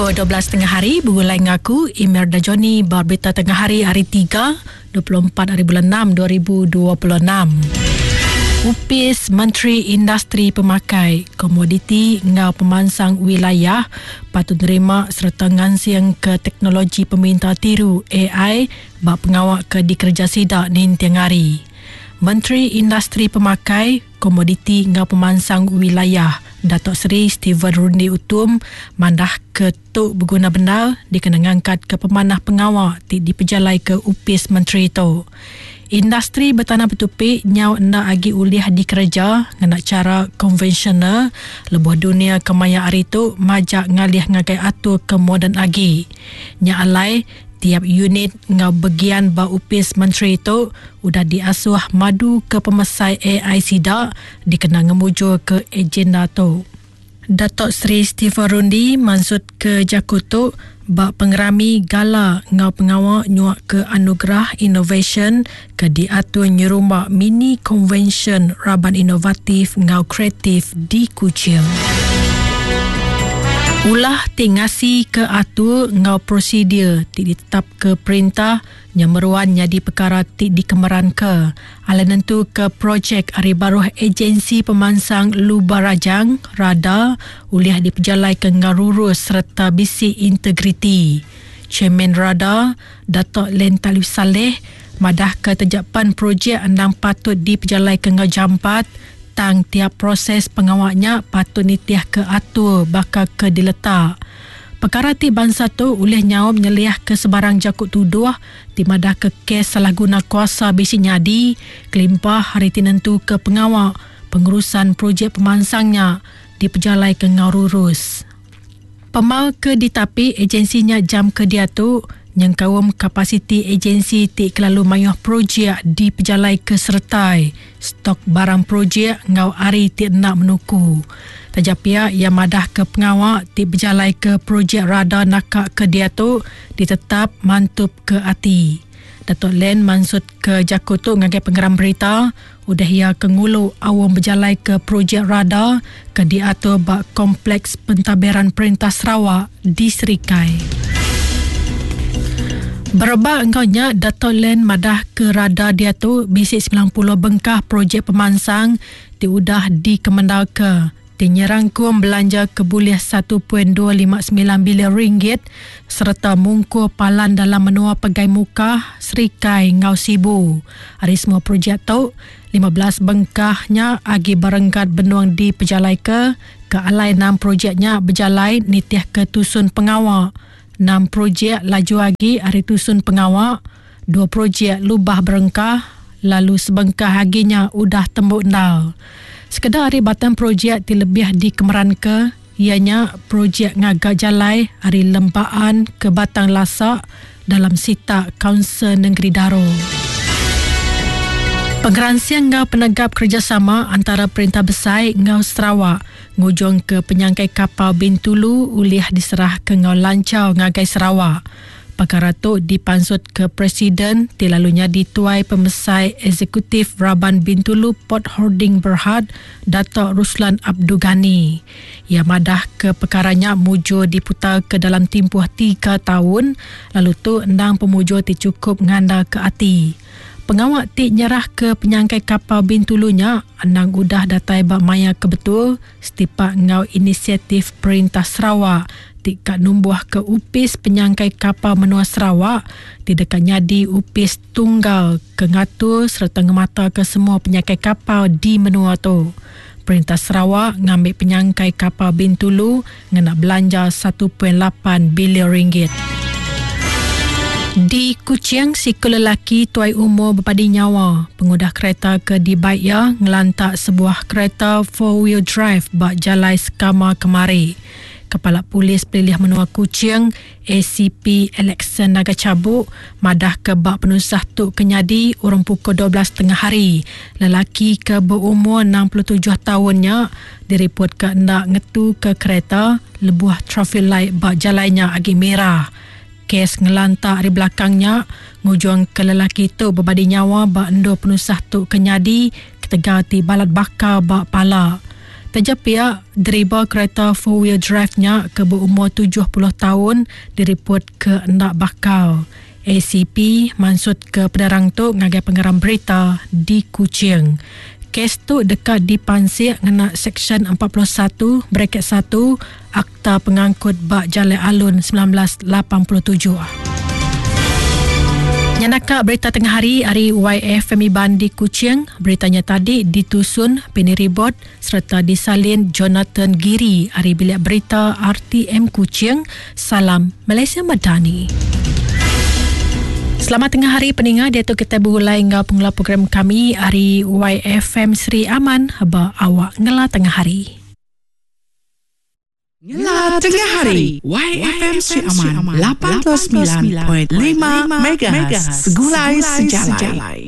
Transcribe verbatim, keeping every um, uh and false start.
Pukul dua belas tengah hari, bergulai ngaku Imelda Johnny berita tengah hari hari tiga, dua puluh empat hari bulan enam dua ribu dua puluh enam. Upis Menteri Industri Pemakai, Komoditi ngau Pemansang Wilayah patut nerima serta ngansing ke teknologi peminta tiru A I bak pengawak ke dikerja sidak ninting hari. Menteri Industri Pemakai, Komoditi ngau Pemansang Wilayah Datuk Seri Stephen Rundi Utom mandah ke tu berguna bendar dikena ngangkat ke pemanah pengawak ti dipejalai ke upis menteri tu. Industri bertanah bertupi nyau enda agi ulih dikereja ngena cara konvensional lebuh dunia kemaya hari tu majak ngalih ngagai atur ke moden agi. Nya alai tiap unit ngau bagian ba upis menteri tu udah diasuh madu ke pemesai A I sida dikena ngemujur ke agenda tu. Datuk Seri Stephen Rundi maksud ke jaku tu ba pengerami gala ngau pengawak nyuak ke anugerah innovation ke diatur nyerumba mini convention raban inovatif ngau kreatif di Kuching. Ulah ti ngasi ke atur ngau prosedur ti ditetap ke perintah nyemeruan jadi perkara ti dikemeran ke. Ala nentu ke projek ari baruh agensi pemansang Luba Rajang, RADA, ulih dipejalai ke ngarurus serta bisi integriti. Chairman RADA, Datuk Len Talif Saleh, madah ke terjapan projek endang patut dipejalai ke ngau jampat, tang tiap proses pengawaknya patut nitih ke atur bakal ke diletak. Perkara ti bangsa tu ulih nyaum nyeliah ke sebarang jakut tuduh ti madah ke kes salah guna kuasa bisi nyadi kelimpah hari ti nentu ke pengawak pengurusan projek pemansangnya dipejalai ke ngau rurus. Pemal ke ditapi agensinya jam ke dia tu nyengkaum kapasiti agensi ti kelalu mayuh projek dipejalai ke sertai stok barang projek ngau ari ti nak menuku. Tajapia ia madah ke pengawak ti berjalai ke projek RADA nakak ke dia tu ditetap mantup ke ati. Datuk Len maksud ke jaku tu ngagai pengeram berita udah ia ke ngulu awam berjalai ke projek RADA ke diatur bak kompleks pentadbiran Perintah Sarawak di Serikai. Berebak engkaunya, Datuk Len madah ke RADA dia tu bisi sembilan puluh bengkah projek pemansang ti udah dikemendal ke. Ti nyerangkum belanja ke bulih satu perpuluhan dua lima sembilan bilion ringgit serta mungkur palan dalam menua Pegai Mukah, Serikai ngau Sibu. Hari semua projek tu, lima belas bengkahnya agi berenggat benuang di pejalai ke, ke alai enam projeknya berjalai nitih ke tusun pengawak. Enam projek laju agi hari tusun pengawak, dua projek lubah berengkah, lalu sebengkah aginya udah tembuk ndal. Sekedar hari batang projek ti lebih dikemeran ke, ianya projek ngaga jalai hari Lempaan ke Batang Lasak dalam sitak Kaunsil Negeri Daro. Pengeransian ngau penegap kerjasama antara Perintah Besai ngau Sarawak ngujung ke penyangkai kapal Bintulu ulih diserah ke ngau lancar ngagai Sarawak. Perkara tu dipansut ke Presiden ti lalunya dituai Pemesai Eksekutif Raban Bintulu Port Holding Berhad Datuk Ruslan Abdul Ghani. Ia madah ke perkaranya mujur diputar ke dalam tempoh tiga tahun lalu tu endang pemujur ti cukup nganda ke ati. Pengawak ti nyerah ke penyangkai kapal Bintulunya endang udah datai bak maya kebetul setipak ngau inisiatif Perintah Sarawak ti kat numbuh ke upis penyangkai kapal menua Sarawak ti dekat nyadi upis tunggal ke ngatur serta ngemata ke semua penyangkai kapal di menua tu. Perintah Sarawak ngambil penyangkai kapal Bintulu ngena belanja satu perpuluhan lapan bilion ringgit. Di Kuching, siku lelaki tuai umur berpadi nyawa pengudah kereta ke dibaik ia ngelantak sebuah kereta four wheel drive bak Jalai Sekama kemari. Kepala Polis Pelilih Menua Kuching, A C P Alexander Naga Cabuk, madah ke bak penusah tu kenyadi urang pukul dua belas tengah hari. Lelaki ke berumur enam puluh tujuh tahunnya diripot ke hendak ngetu ke kereta lebuh traffic light bak jalainya agi merah. Kes ngelantak di belakangnya ngujung ke lelaki tu berbadi nyawa bak endo penusah tu kenyadi ketegal ti balat bakar bak pala. Taja pia deriba kereta four wheel drive nya ke berumur tujuh puluh taun diripot ke enda bakal. A C P mansut ke penerang tu ngagai pengarang berita di Kuching. Kes tu dekat dipansik ngena Seksyen empat puluh satu bracket satu Akta Pengangkut Bak Jalai Alun sembilan belas lapan puluh tujuh. Nyanaka berita tengah hari hari Y F M Iban di Kuching. Beritanya tadi ditusun Penny Ribot serta disalin Jonathan Giri hari bilik berita R T M Kuching. Salam Malaysia Madani. Selamat tengah hari peninga, dia tu kita berulai ngau pengelola program kami hari Y F M Sri Aman ba awak ngela tengah hari. Ngela tengah hari Y F M Sri Aman lapan puluh sembilan perpuluhan lima MHz Segulai Sejalai.